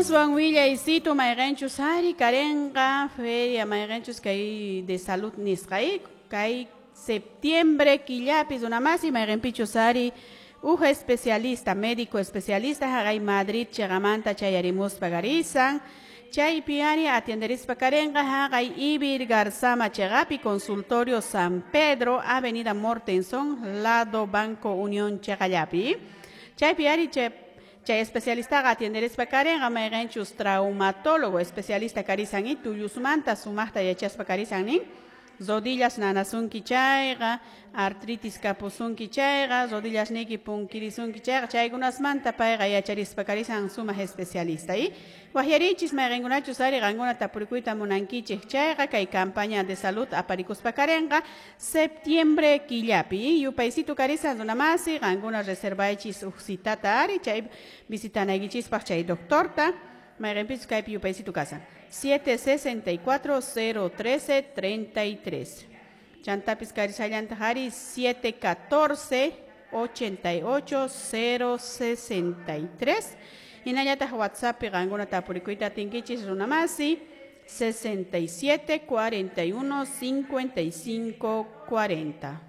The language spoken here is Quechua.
Aswan willaysitu mayqinchus ari karinqa feria mayqinchus kay de salud nisqa kay septiembre killapi runamasi mayqinpichus ari uj especialista médico especialista haqay Madrid chiqamanta chayarimuspa karisan chaypi ari atienderispa karinqa haqay Ivirgarzama chiqapi consultorio San Pedro, Avenida Mortenson, lado Banco Unión chiqallapi chaypi ari chay especialistaqa atienderispa karinqa mayqinchus traumatólogo especialista karisan y tullusmanta sumaqta yachaspa karisan nin rodillas nanasunki chayqa artritis kapusunki chayqa rodillas niyki punkirisunki chayqa chaykunasmanta payqa yacharispa karisan sumaq especialista y waqyarichis mayqinkunachus ari qankuna tapurikuyta munankichik chayqa kay campaña de salud aparikuspa karinqa septiembre killapi yupaysitu karisan runamasi qankuna reservaychis uj citata ari chay visitanaykichispaq chay doctorta mayqinpichus kaypi yupaysitu kasan 764 013 33 chantapis karisallantaq ari 714 88 063 hinallataq WhatsAppi qankuna tapurikuyta atinkichis runamasi 67 41 55 40.